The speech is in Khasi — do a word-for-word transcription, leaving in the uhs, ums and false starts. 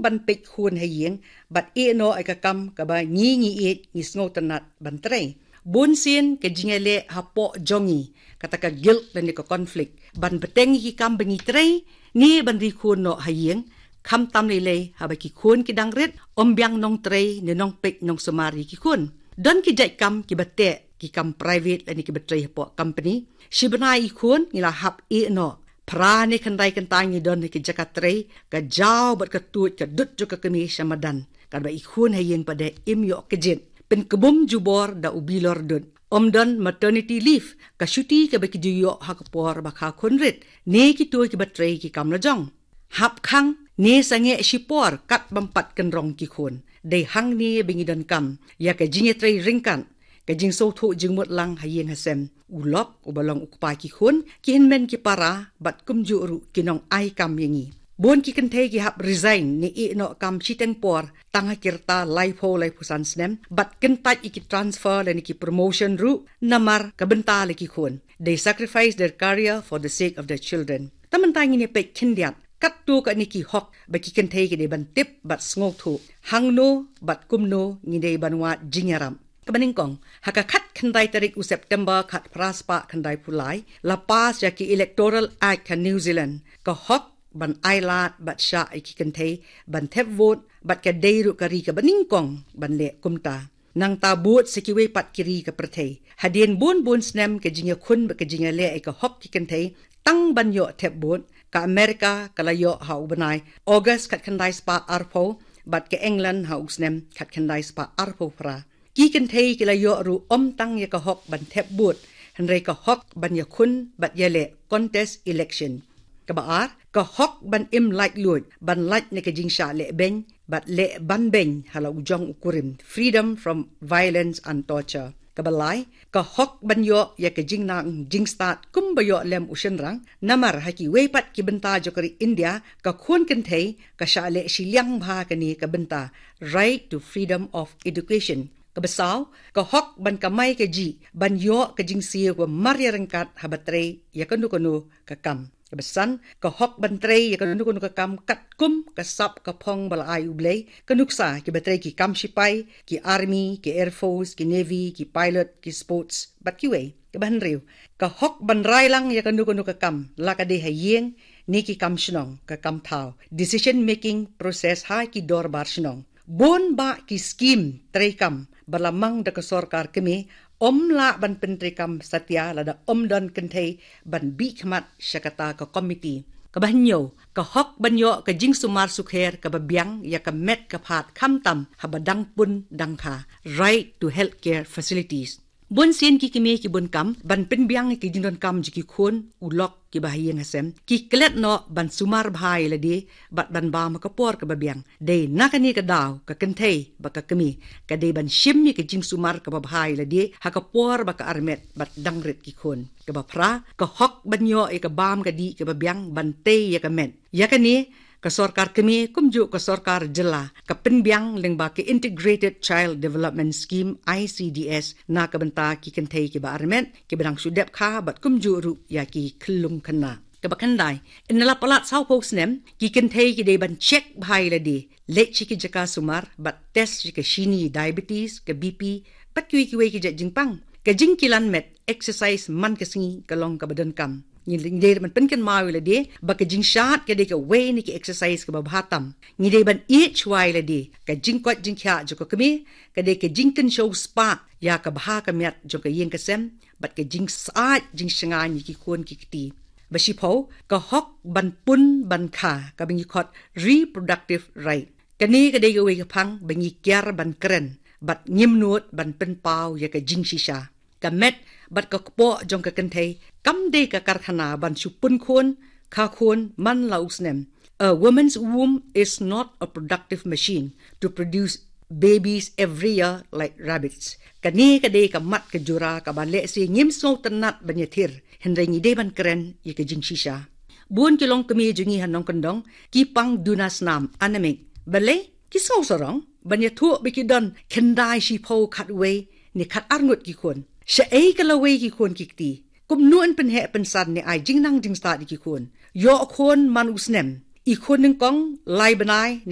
ban peit khun ha ïing bad ïeh noh ïa ka kam kaba ngi ngi ïeit ngi sngewtynnat ban trei. Bun sien ka jingïaleh hapoh jong ngi, kata ka guilt lane ka conflict ban bteng ïa ki kam ba ngi trei ne ban ri khun noh ha ïing, khamtam lei lei haba ki khun ki dang rit, ym biang nongtrei ne nongpeit nongsumar ïa ki khun. Don ki jait kam kiba teh, ki kam private lane kiba trei hapoh company. Shi bnai i khun ngi la hap ïeh noh. Phra ne khyndai kynta ngi don ha ki jaka trei, ka jaw bad ka tuid ka dud jong ka kmie sha madan. Katba i khun ha ïing pat de im ïoh kjit. Pynkbum jubor da u bilor dud. Ym don maternity leave, ka shuti kaba ki ju ïoh ha ka por ba kha khun rit ne kito kiba trei ki kam lajong. Hap khang ne sangeh shipor kat bym pat kynrong ki khun. Dei hangne ba ngi donkam ïa ka jingïatrei ryngkat, ka jingsngewthuh jingmut lang ha ïing ha sem. U lok uba long u kpa ki khun, ki hynmen ki para bad kumjuh ruh ki nongai kam ïa ngi. Bun ki kynthei ki hap resign ne ïeh noh kam shiteng por tang ha ki rta laiphew laiphew san snem bad kyntait ïa ki transfer lane ki promotion ruh namar ka bynta la ki khun. They sacrifice their career for the sake of their children. Te mynta ngin ïa peit khyndiat katto katne ki hok ba ki kynthei ki dei ban tip bad sngewthuh. Hangno bad kumno ngi dei ban wad jingïarap. Kaba nyngkong, ha ka khatkhyndai tarik u September khatphra spah khyndaiphew lai, la pass ïa ki Electoral Act ha New Zealand, ka hok ban ailad bad shah ïa ki kynthei ban thep vote, bad ka dei ruh ka ri kaba nyngkong ban leh kumta. Nangta bud sa kiwei pat ki ri ka pyrthei. Hadien bun bun snem ka jingïakhun bad ka jingïaleh ïa ka hok ki kynthei tang ban ïoh thep vote, ka America ka la ïoh ha u bnai August khatkhyndai spah arphew, bad ka England ha u snem khatkhyndai spah arphew phra. Ki kynthei ki la ïoh ruh ym tang ïa ka hok ban thep vote, hynrei ka hok ban ïakhun bad ïaleh contest election. Kaba ar, ka hok ban im laitluid, ban lait na ka jingshah lehbeiñ bad leh ban beiñ ha la u jong u kurim, freedom from violence and torture. Kaba lai, ka hok ban ïoh ïa ka jingnang jingstad kumba ïoh lem u shynrang, namar ha kiwei pat ki bynta jong ka ri India, ka khun kynthei ka shah leh shiliang bha kane ka bynta, right to freedom of education. Kaba saw, ka hok ban kamai kajih, ban ïoh ka jingsiew ba mar ïa ryngkat haba trei ïa kano kano ka kam. Kaba san, ka hok ban trei ïa kano kano ka kam katkum ka sap ka phong ba la ai U Blei, ka nuksa kiba trei ki kam shipai, ki army, ki air force, ki navy, ki pilot, ki sports bad kiwei. Kaba hynriew, ka hok ban rai lang ïa kano kano ka kam, la ka dei ha ïing ne ki kam shnong, ka kam thaw, decision making process ha ki dorbar shnong. Bun bah ki skim treikam ba la mang da ka sorkar kmie, ym lah ban pyntreikam satia lada ym don kynthei ban bih khmat sha kata ka komiti. Kaba hynñiew, ka hok ban ïoh ka jingsumar sukher kaba biang ïa ka met ka phad khamtam haba dang pun dang kha, right to healthcare facilities. Bun sien ki kmie ki bun kam ban pynbiang ïa ki jingdonkam jong ki khun, u lok kiba ha ïing ha sem, ki klet noh ban sumar bha ïa lade bad ban bam ha ka por kaba biang. Dei na kane ka daw ka kynthei bad ka kmie ka dei ban shim ïa ka jingsumar kaba bha ïa lade ha ka por ba ka armet bad dang rit ki khun. Kaba phra, ka hok ban ïoh ïa ka bam ka dih kaba biang ban tei ïa ka met. Ïa kane, ka sorkar kmie kumjuh ka sorkar jylla ka pynbiang lyngba ka Integrated Child Development Scheme, I C D S, na ka bynta ki kynthei kiba armet, kiba dang shu dep kha bad kumjuh ruh ïa ki khyllung khynnah. Kaba khyndai, ynda la palat sawphew snem, ki kynthei ki dei ban check bha ïa lade, leit sha ki jaka sumar bad test ïa ka shini, diabetes, ka B P bad kiwei kiwei ki jait jingpang. Ka jingkilan met, exercise man ka sngi, ka long kaba donkam. Ngi dei ban pynkynmaw ïa lade ba ka jingshad ka dei kawei na ki exercise kaba bha tam. Ngi dei ban ïeit shuwa ïa lade, ka jingkoit jingkhiah jong ka kmie ka dei ka jingkynshew spah ïa ka bha ka miat jong ka ïing ka sem bad ka jingsyaid jingshngaiñ ïa ki khun ki kti. Ba shiphew, ka hok ban pun ban kha, kaba ngi khot reproductive right. Kane ka dei kawei ka phang ba ngi kiar ban kren bad ngim nud ban pynpaw ïa ka jingshisha. Ka met bad ka kpoh jong ka kynthei kam dei ka karkhana ban shu pun khun, kha khun man la u snem. A woman's womb is not a productive machine to produce babies every year like rabbits. Kane ka dei ka mat ka jura kaba lehse ngim sngewtynnat ban ïathir, hynrei ngi dei ban kren ïa ka jingshisha. Bun ki longkmie jong ngi ha nongkyndong ki pang duna snam, anemic. Balei? Ki sngewsarong ban ïathuh ba ki don khyndai, shiphew, khatwei ne khatar ngut ki khun. Shaei ka lawei ki khun ki kti? Kumno yn pynheh pynsan ne ai jingnang jingstad ïa ki khun? Ïoh khun man u snem, i khun nyngkong lai bnai ne